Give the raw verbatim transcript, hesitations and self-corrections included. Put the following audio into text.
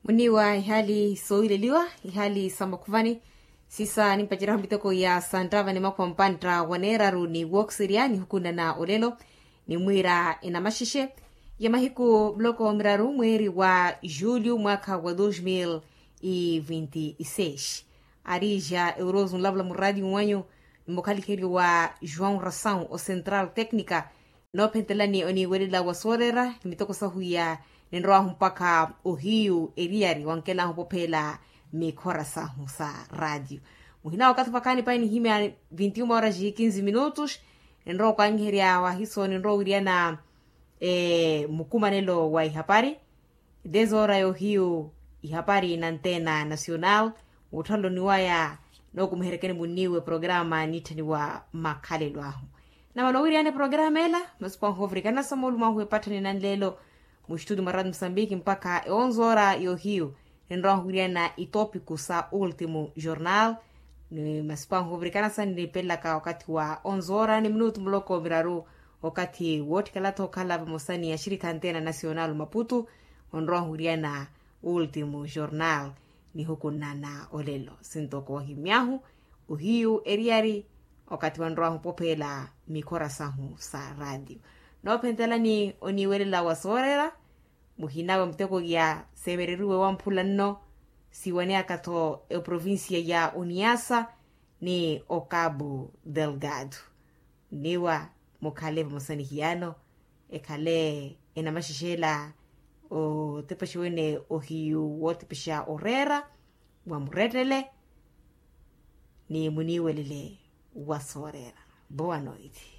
Oniiwa ihaali soowileliwa, ihaali sa makhuvani. Sisa nimpaceriha miteko ya santtava ni makhuva mpantta wa neeraru ni wookiseriya nihukunna na olelo. Nimwiira enamaxexe ya mahiku muloko miraru mweeri wa julho mwaakha wa dos mil e vinte e seis. Arija euroso nlavula muraati wanyu, ni mukhalikheliwa joão rasaun o central tecnica. Noophentelani oniiwelela wa sooreera ni mitoko sahu iya, ninrowahu mpakha ohiyu eriyari wankelahu opopheela mikhora sahu sa raatiyo. Muhina wakathi vakhaani pahi nihimya vinti uma horas e kinzi minutos. Ninrowa okanyiherya wahiso ninrowa owiriyana mukumanelo wa ihapari. Desora yohiyu ihapari na antena nacional. Wutthalo niwaya nookumiherekeni muniiwe programa nitthaniwa makhalelo ahu. Namala owiriyana programa ela masipo ahu ovirikana sa moolumo ahu epatthani nanlelo. Muxituti mwa radio musambiki mpakha e onze ora yohiyu ninrowa owiriyana itopiku sa ultimu jornal. Ni masipo ahu ovirikana sa ninipelelaka okathi wa onze ora ni minutu muloko miraru. Okathi wootthikala-tho okhala vamosa ni axirikha antena nacional maputu onrowa owiriyana ultimu jornal. Nihukunna na olelo sintoko ohimyahu ohiyu eriyari okathi wanrowahu opopheela mikhora sahu sa raatiyo. Noophentelani oniiwelela wa sooreera muhina wa miteko ya seevereriwe wamphula nno. Siwaneyaka-tho eprovincia ya oniasa ni ocabu delgado. Nniwa mukhale vamosa ni hiyano ekhale enamaxexe ela otepexa wene ohiyu wootepexa oreera wa murettele. Ni muniiwelele wa sooreera. Boa noite.